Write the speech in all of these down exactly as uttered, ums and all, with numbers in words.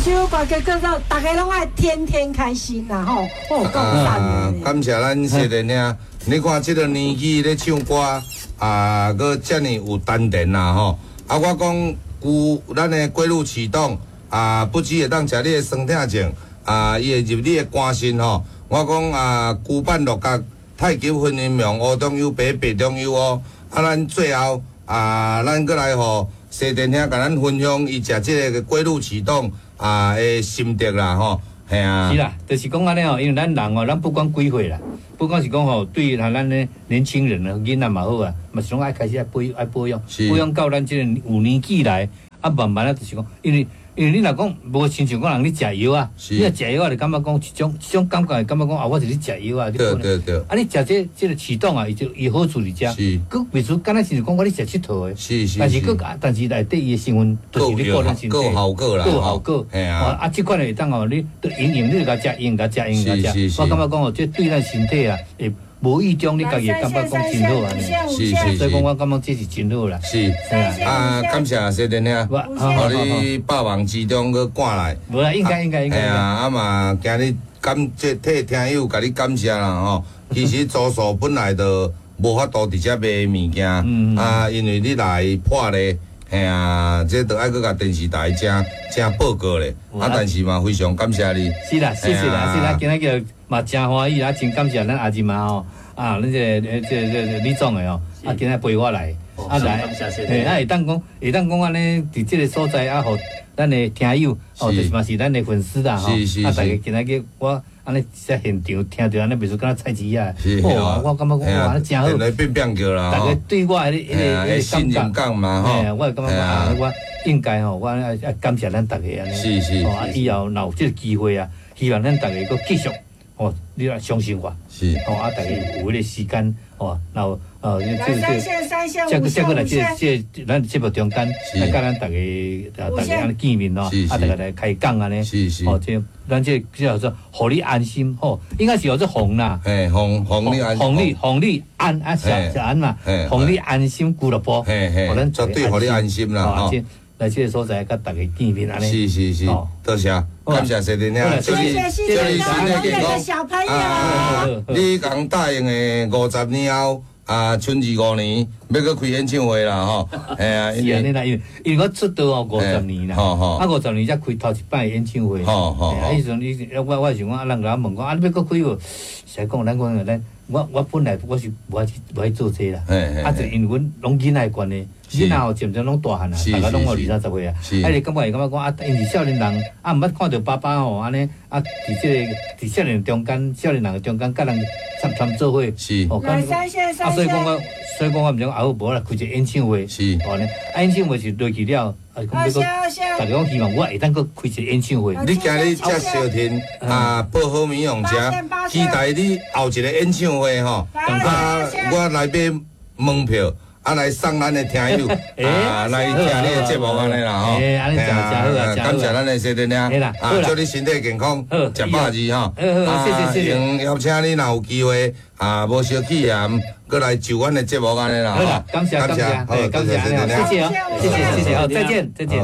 首歌曲叫做大家攏愛天天開心啦吼，哦，夠讚。感謝咱西電兄，你看這個年紀咧唱歌啊，閣遮爾有丹田啦吼。啊，我講舊咱的龜鹿啟動啊，不只會當食你的酸痛症啊，伊會入你的肝腎吼。我講啊，龜板鹿角太極分陰陽，烏中有白，白中有烏。啊，咱最後啊，咱閣來予西電兄共咱分享伊食這個龜鹿啟動啊的心得啦吼。係啊。是啦，就是講按呢吼，因為咱人哦，咱不管幾歲啦，不管是講吼，對咱咱的年輕人啊，囡仔嘛好啊，嘛是攏愛開始愛保愛保養，保養到咱這個有年紀來，啊慢慢啊，就是講，因為因為你若講無親像講人咧食藥啊，你若食藥啊，就感覺講一種一種感覺，會感覺講啊，我是咧食藥啊。對對對。啊，你食這這個啟動啊，伊就伊好處佇遮。是。閣袂輸，敢若是講我咧食𨑨迌的。是是。但是閣但是內底伊的成分，就是咧顧咱身體。閣有效果啦。閣有效果。嘿啊。啊，這款會當哦，你都營養，你共食，營共食，營共食。我感覺講哦，這對咱身體啊，會無意中你家己會感覺講真好按呢。是是是。所以講我感覺這是真好啦。是。啊，感謝西電兄，予你百忙之中閣趕來。無啦，應該應該應該。嘿啊，啊嘛，今日感這替聽友共你感謝啦吼。其實周數本來就無法度佇遮賣物件，啊，因為你來破例，嘿啊，這都愛閣共電視台請請報告咧。啊，但是嘛，非常感謝你。是啦，謝謝啦，是啦，今仔日嘛真歡喜啊，真感謝咱阿姊嘛吼，啊，咱這個這這李總的哦，啊，今仔陪我來，啊來，嘿，啊會當講會當講按呢，佇這個所在啊，予咱的聽友，哦，就是嘛是咱的粉絲啦，吼，啊，大家今仔日我按呢在現場聽著按呢，袂輸敢若菜市仔，哦，我感覺講哇，真好，變變叫啦，大家對我彼個彼個彼個感覺嘛，吼，我會感覺講啊，我應該吼，我愛愛感謝咱大家按呢，是是，哦，啊，以後若有這個機會啊，希望咱大家閣繼續。哦，你若相信我，是，哦啊，大家有彼個時間，哦，然後呃，這這這，這這個來這這咱節目中間，來佮咱大家啊，大家按呢見面咯，啊，大家來開講按呢，是是，哦，這咱這叫做予你安心，吼，應該是叫做防啦，嘿，防防你安，防你防你安啊，小小安嘛，防你安心俱樂部，嘿嘿，絕對予你安心啦，吼。來這個所在佮大家見面按呢，是是是，多謝，感謝西電兄，祝你祝你身體健康。小朋友，你共答應的五十年後啊，春二五年欲閣開演唱會啦吼，嘿啊，是按呢啦，因為因為我出道哦五十年啦，啊五十年才開頭一擺演唱會，啊彼時陣你我我想講啊，人共我問講啊，你欲閣開無？實在講，咱講咱我我本來我是無愛去無愛做這啦，啊就因為阮攏囡仔的關係。囡仔吼漸漸攏大漢啊，大家攏有二三十歲啊，啊伊感覺會感覺講啊，𪜶是少年人，啊毋捌看著爸爸吼按呢，啊佇這個佇少年中間，少年人的中間，佮人參參做伙，哦，啊所以講我，所以講我毋知講啊好無啦，開一個演唱會，哦呢，啊演唱會是落去了，啊講欲閣，大家講希望我會當閣開一個演唱會。你今日遮相挺啊，報好物予食，期待你後一個演唱會吼，啊我來買門票。啊，來送咱的聽友啊，來聽你的節目按呢啦吼。感謝咱的西電兄，啊，祝你身體健康，食百二吼。謝謝謝謝。邀請你若有機會啊，無相去啊，閣來就阮的節目按呢啦。好，感謝感謝，好，感謝西電兄，謝謝謝謝謝謝，好，再見再見。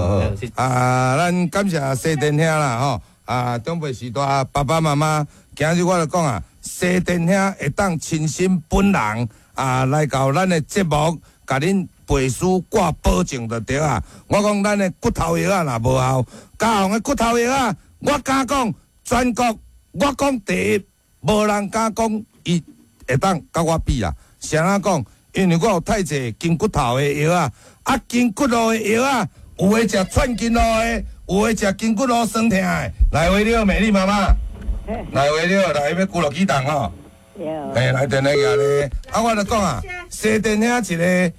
啊，咱感謝西電兄啦吼，啊，長輩時代爸爸媽媽，今日我就講啊，西電兄會當親身本人。啊，來到咱的節目，共恁背書掛保證就對啊。我講咱的骨頭藥仔若無效，嘉宏的骨頭藥仔，我敢講全國，我講第一，無人敢講伊會當佮我比啊。是按怎講？因為我有太濟筋骨頭的藥仔，啊，筋骨路的藥仔，有的食串筋路的，有的食筋骨路酸痛的。來位你好，美麗媽媽。來位你好，來欲龜鹿啟動吼。嘿，來電話舉咧，啊，我就講啊，西電兄一個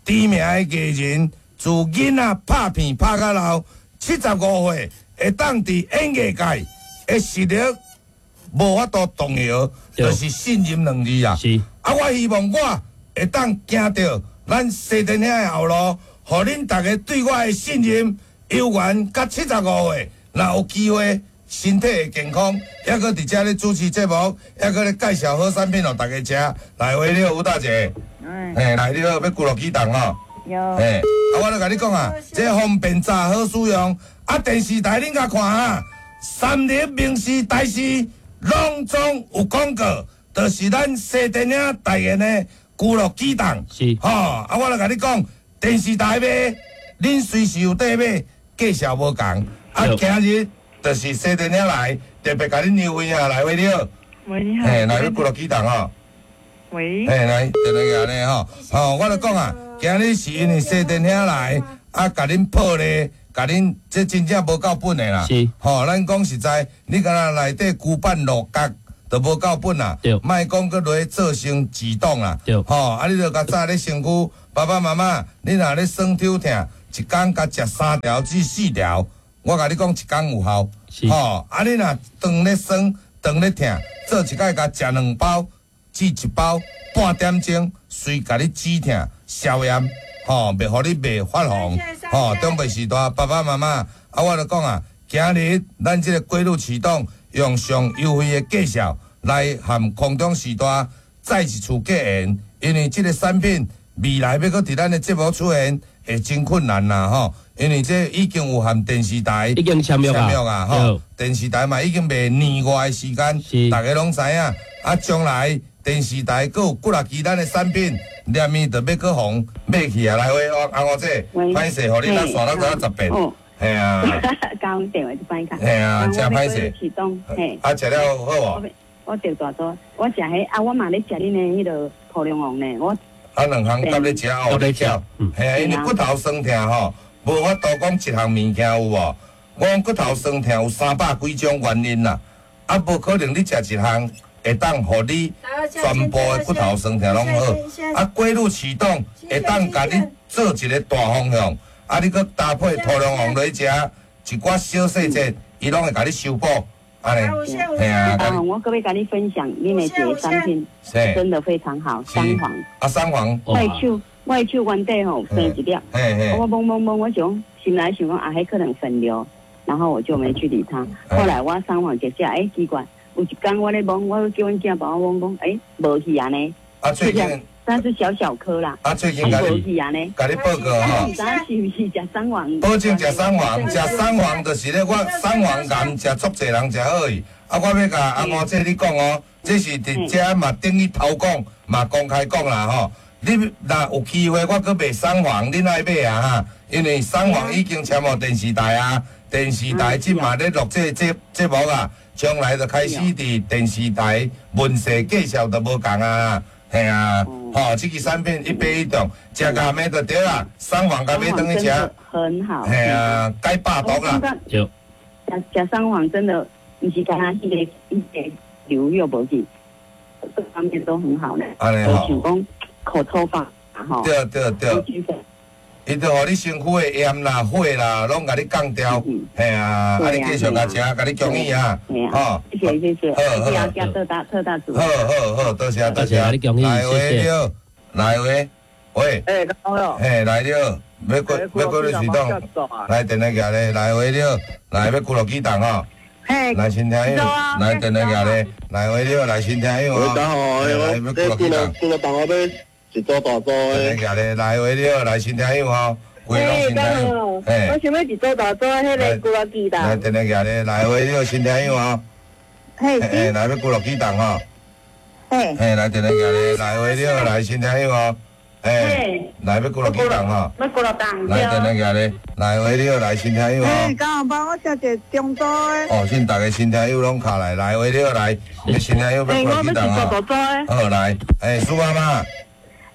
知名的藝人，自囡仔拍片拍到老，七十五歲，會當佇演藝界的實力無法度動搖，就是信任兩字啊。是。啊，我希望我會當行著咱西電兄的後路，予恁逐家對我的信任，猶原到七十五歲，若有機會，身體會健康，猶閣佇遮咧主持節目，猶閣咧介紹好產品予大家食。來，喂，你好，吳大姐。嘿，來，你好，欲龜鹿啟動吼。嘿，啊，我咧共你講啊，這方便炸好使用，啊，电视台恁共看啊，三立、民视、台视拢总有广告，就是咱西电影代言的龟鹿启动。是吼，啊，我来共你讲，电视台买，恁随时有得买，价数无仝。啊，对今日就是西电影来，特别共恁优惠啊，来喂你好，喂，你好。嘿，来欲龟鹿启动吼。喂。嘿，来，电话咧吼，吼，我就讲啊，今日是因为西电兄来，啊，共恁破例，共恁这真正无够本的啦。是。吼，咱讲实在，你敢若内底龟板鹿角都无够本啦。对。莫讲阁落去做成自动啦。对吼，啊，你著较早咧身躯，爸爸妈妈，你若咧酸抽疼，一工共食三条至四条，我共你讲一工有效。是吼，啊，你若当咧酸，当咧疼，做一摆共食两包至一包，半点钟，随共你止疼消炎，吼，袂予你袂发红，吼，长辈时代爸爸妈妈，啊，我就讲啊，今日咱这个龟鹿启动，用上优惠的价数来和空中时代再一次结缘，因为这个产品未来欲阁伫咱的节目出现，会真困难啦，吼，因为这已经有和电视台已经签约啊签约啊，吼，电视台嘛已经袂年外的时间，是大家拢知影，啊，将来电视台阁有几若支咱的产品，连伊就欲阁予买去啊，来喂，阿阿五姐，喂歹势，予你咱煞咱做十遍，哦，嘿啊，交电话就歹卡。嘿啊真歹势启动，嘿。啊，食了好无？我得大组，我食彼啊，我嘛咧食恁的彼个土龙王呢，我啊，两项搭咧食哦，搭咧食嗯嘿啊，因为骨头酸疼吼，无法度讲一项物件有无？我讲骨头酸疼有三百几种原因啦，啊，无可能你食一项会当予你全部的骨头酸疼拢好。啊，龟鹿启动会当共你做一个大方向，啊，你阁搭配土龙王落去食，一寡小细节，伊拢会共你修补，按呢，嘿啊，啊，我阁欲共你分享，恁的一个产品真的非常好，三黄。啊，三黄。我的手，我的手原底吼生一粒，嘿嘿我摸摸摸，我想心内想讲啊，彼可能粉瘤，然后我就没去理它。后来我三黄食食，欸奇怪，有一工我咧摸，我叫阮囝帮我摸讲，欸无去按呢。啊，最近。但是小小颗啦。啊，最近共无你去按呢。共你报告吼。毋知是毋是食三黄？保证食三黄，食三黄就是咧，我三黄癌食足济人食好去。啊，我欲共阿五姐你讲哦，这是伫遮嘛等于头讲，嘛公开讲啦吼。你若有机会，我阁卖三黄，恁爱买啊哈？因为三黄已经签予电视台啊，电视台这嘛咧录这节节目啊，将来就开始伫电视台问世介绍就无仝啊。嘿啊，吼，这支产品一买一中，食共买就对啦，三黄共买转去食，很好。嘿啊，解百毒啦。对。食食三黄真的，毋是干焦彼个彼个瘤又无去，各方面都很好呢。按呢吼。想讲口抽发吼。对对对。伊就予你身躯的炎啦、火啦，拢共你降掉。嘿啊，啊你继续共食，共你恭喜啊！吼，谢谢谢谢，好好加特大特大组。好好好，多谢多谢。来喂你好，来喂，喂。欸，好。嘿，来你好，欲过欲过你启动，来电话寄咧，来喂你好，来欲龟鹿启动吼。嘿，来新听友，来电话寄咧，来喂你好，来新听友哦。来欲龟鹿启动，龟鹿动我欲一组大组的。来喂你好，来新听友吼，规拢新听友。嘿，我想欲一组大组彼个龟鹿启动。来电话寄咧，来喂你好，新听友吼。嘿，嘿，来欲龟鹿启动吼。嘿，嘿，来电话寄咧，来喂你好，来新听友吼。嘿，来欲龟鹿启动吼。欲龟鹿动。来电话寄咧，来喂你好，来新听友吼。嘿，江红帮我食一个中组的。哦，现逐个新听友拢敲来，来喂你好，来，新听友欲龟鹿启动吼。好来，欸，苏妈妈。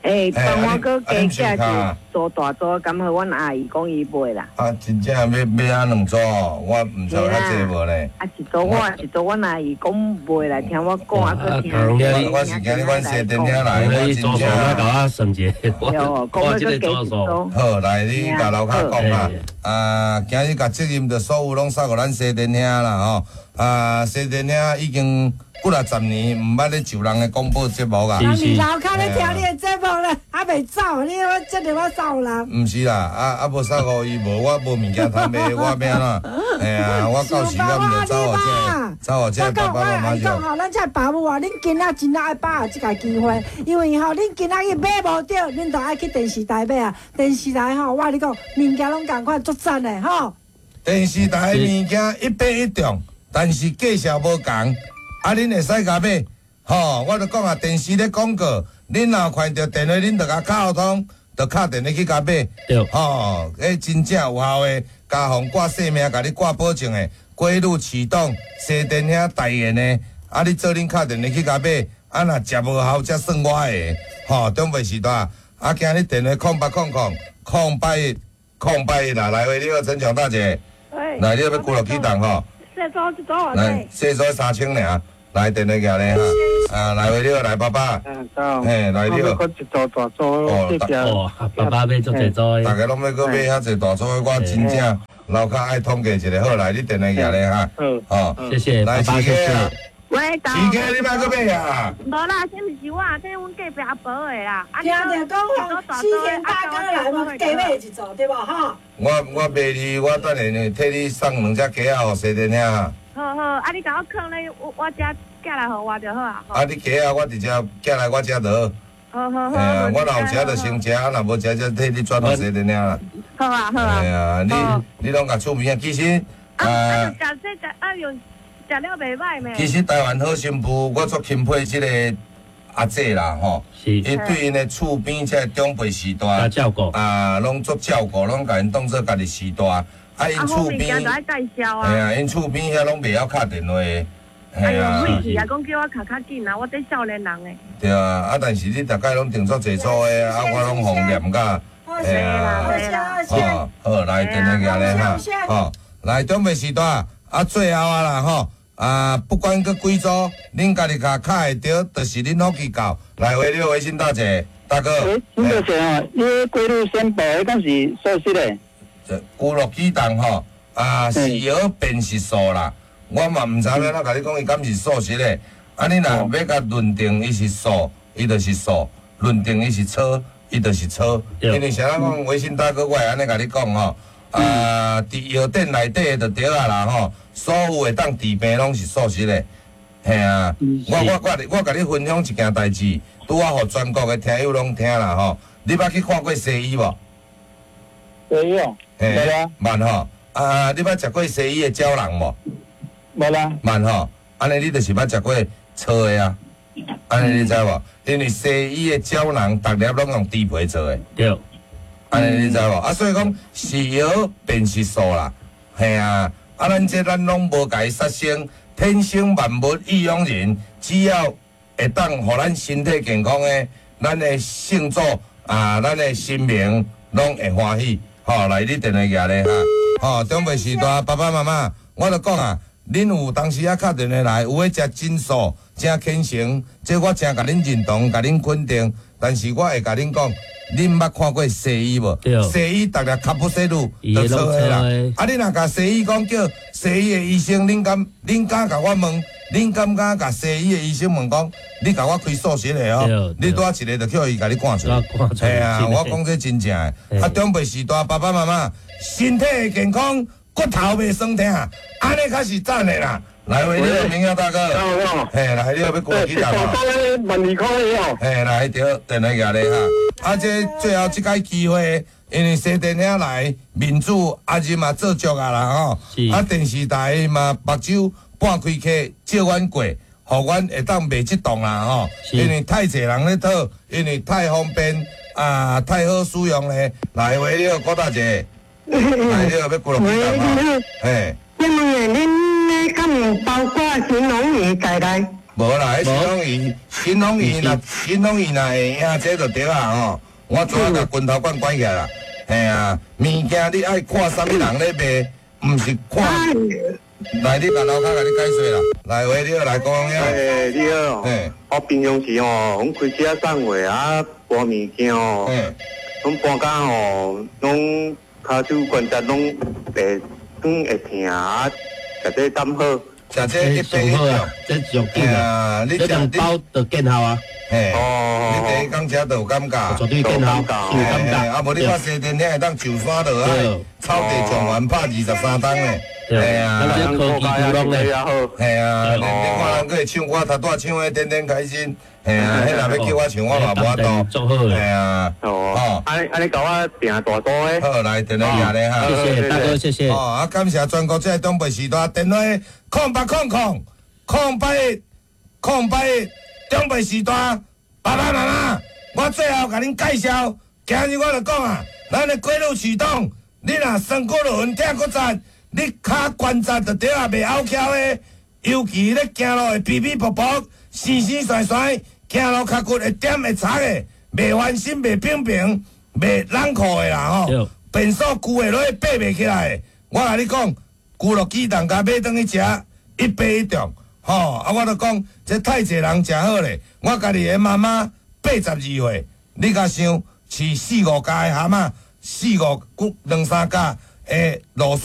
欸，帮我阁加寄一组大组，敢予阮阿姨讲伊买啦。啊，真正欲买啊两组，我毋知有遐济无呢。啊，一组我一组，阮阿姨讲袂来听我讲，啊，阁听。我我是今日阮西电听来，我真正。我共我算一下，我这个组数。好，来你共楼跤讲啦。啊，今日共责任就所有拢送予咱西电兄啦吼。啊，西电兄已经几若十年毋捌咧上人的广播节目啊。人伫楼跤咧听你的节目咧，还袂走，你我这个我送人。毋是啦，啊啊无送予伊，无我无物件通卖，我欲按怎？嘿啊，我到时我毋就走予这个，走予这个爸爸妈妈我讲吼，咱这爸母啊，恁囡仔真爱把握这个机会，因为吼，恁囡仔去买无著，恁就爱去电视台买啊。电视台吼，我共你讲，物件拢仝款，足赞的吼。电电视台的物件一买一中，但是价数无仝，啊，恁会使共买，吼，我就讲啊，电视咧广告，恁若看著电话，恁就共敲通，就敲电话去共买，对，吼，彼真正有效的，家防挂性命，共你挂保证的，规律启动，西电兄代言的，啊，你做恁敲电话去共买，啊，若食无效才算我的，吼，长辈时代，啊，今日电话空八空空空八一空八一啦，来喂，你好，陈强大姐，来，你欲龟鹿启动吼，细组一组偌来，细组三千尔，来电话寄咧哈，啊，来喂，你好，来爸爸，嘿，来你好，一组大组，哦，爸爸买足济组的，大家拢欲阁买遐济大组的，我真正楼跤爱统计一下，好，来，你电话寄咧哈，好，谢谢，来，爸爸，谢谢。喂，市家你莫阁买啊？无啦，这毋是我，这阮隔壁阿婆的啦。听著讲吼，西田大哥来嘛，加买一组对无吼？我我卖你，我等下呢替你送两只鸡仔予西电兄。好好，啊你共我囥咧，我我遮寄来予我就好啊。啊你鸡仔我直接寄来我遮就好。好好好。嘿啊，我若有食就先食，啊若无食才替你转予西电兄啦。好啊好啊。嘿啊，你你拢共厝边啊，其实啊啊，食这食啊用。食了袂歹咩？其实台湾好媳妇，我足钦佩这个阿姐啦，吼，伊对𪜶的厝边这个长辈序大照顾啊，拢足照顾，拢共𪜶当做家己序大。啊，𪜶厝边，嘿啊，𪜶厝边遐拢袂晓敲电话的，嘿啊。哎呦，啊，讲叫我敲较紧啊，我这少年人的。对啊，啊，但是你逐摆拢定足济组的，啊，我拢予念甲，嘿啊，好，好，来电话寄咧哈，好，来长辈序大，啊，最后啊啦吼。啊，不管阁几组，恁家己共敲会著，就是恁福气够。来，喂，你好，微信大姐，大哥。喂，新大姐哦，你龟鹿先报，彼敢是素食的？这龟鹿启动吼，啊，是药变是素啦。我嘛毋知影怎共你讲，伊敢是素食的。啊，你若欲共论定伊是素，伊就是素；论定伊是草，伊就是草。因为啥人讲，微信大哥，我会按呢共你讲吼。啊，伫药店内底就对啊啦吼，所有会当治病拢是素食的，嘿啊！我我我我共你分享一件代志，拄仔予全国的听友拢听啦吼。你捌去看过西医无？西医哦，嘿，捌吼。啊，你捌食过西医的胶囊无？无啦。捌吼，按呢你就是捌食过粗的啊。按呢你知无？因为西医的胶囊，逐粒拢用猪皮做的。对。按呢你知无？啊，所以讲是药便是素啦，嘿啊！啊，咱这咱拢无共伊杀生，天生万物易养人，只要会当予咱身体健康的，咱的圣祖啊，咱的神明拢会欢喜。吼，来，你电话寄咧哈。吼，长辈时代爸爸妈妈，我就讲啊，恁有当时啊敲电话来，有的食真素，真虔诚，这我真共恁认同，共恁肯定。但是我会共恁讲。恁捌看过西医无？西医逐粒卡布西鲁就错的啦。啊，你若共西医讲叫西医的医生，恁敢恁敢共我问？恁敢敢共西医的医生问讲？你共我开素食的哦？你拄仔一个就叫伊共你赶出来。嘿啊，我讲这真正的。啊，长辈时代爸爸妈妈身体会健康，骨头袂酸疼，按呢较是赞的啦。来，喂，你好，明耀大哥。嘿，来，你好，欲过几档啊？万二箍哦。嘿，来，对，电话寄咧哈。啊，这最后这摆机会，因为西电兄来，面子阿日嘛做足啊啦吼。啊，电视台嘛目睭半开客借阮过，予阮会当卖这档啦吼。因为太济人咧讨，因为太方便啊，太好使用咧。来，喂，你好，郭大姐。来，你好，欲过落几档啊？嘿。请问恁那敢有包括神农鱼在内？无啦，彼神农鱼，神农鱼若神农鱼若会赢，这就对啊吼。我怎啊共拳头管关起来啦？嘿啊，物件你爱看啥物人咧卖，毋是看。来，你共楼跤共你解说啦。来，喂，你好，来讲呀。欸，你好。嘿，我平常时吼，阮开车送货啊，搬物件吼，阮搬工吼，拢跤手关节拢会软会疼啊，食这胆好。食这一百一啊，这上紧啊！你这两包就见效啊！嘿，哦，你第一工食就有感觉，绝对见效，有感觉。啊，无你看西电遐会当上山落海，草地状元拍二十三档咧。系啊，咱这科技股拢咧。系啊，你你看人阁会唱歌，头拄仔唱的天天开心。嘿啊，彼若欲叫我唱，我嘛無法度。足好的。嘿啊，哦，按呢按呢共我訂大組的。好，來電話舉咧哈。謝謝大哥，謝謝。哦，啊，感謝全國這个長輩序大電話空八空空空八一空八一長輩序大爸爸媽媽，我最後共恁介紹，今日我就講啊，咱的規律啟動，你若酸骨輪疼骨節，你跤關節就對啊，袂拗翹的，尤其咧行路會皮皮薄薄、生生酸酸，行路跤骨會點會擦的，袂翻身、袂平平、袂冷褲的啦吼。便所舊會落去爬袂起來的，我共你講，龜鹿啟動共買轉去食，一爬一中，吼啊！我就講，這太濟人誠好咧，我家己的媽媽八十二歲，你共想飼四五家的蛤蟆，四五兩三家的蘆筍。